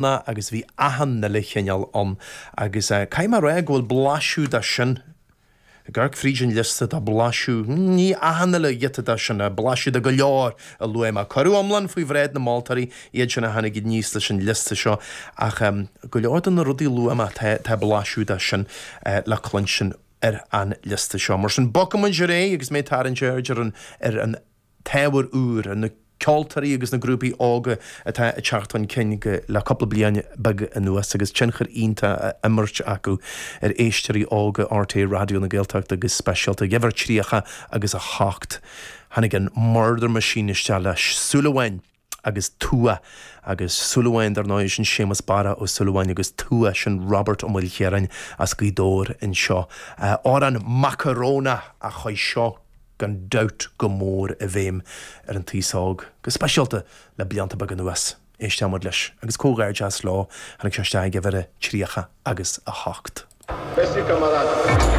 Agus bhí achan uile chineál ann agus caithfidh mé a rá go bhfuil blaiseadh de sin, ag amharc fríd an liosta, tá blaiseadh, ní achan uile ghiota de sin, ach blaiseadh de go leor a luaigh mé. Cuireadh iomlán faoi bhráid na moltóirí, iad sin a tháinig aníos leis an liosta seo, ach go leor de na rudaí a luaigh mé, tá blaiseadh de sin le cluinstin ar an liosta seo. Mar sin, bogfaidh muid ar aghaidh agus mé ag tarraingt aird ar an, ar an. t-ábhar úr, ar na ceoltóirí agus na grúpaí óga atá ag teacht chun cinn le cúpla bliain beag anuas agus tionchar iontach á imirt acu ar éisteoirí óga RTÉ Raidió na Gaeltachta go speisialta. Ag uimhir 30 agus 8, tháinig an Murder Machine isteach le Súil Amháin. agus Tua agus Súilleabháin, dar ndóigh, sin Séamus Barra Ó Súilleabháin agus Tua, sin Robert Ó Maoilchiaráin as Gaoth Dobhair anseo. Amhrán Macarónach a chuaigh seo gan dabht go mór i bhfeidhm ar an taos óg, go speisialta le blianta beaga anuas. Éisteoidh muid leis. Agus comhghairdeas leo, tháinig sé isteach ag uimhir a 30 agus 8. Basic.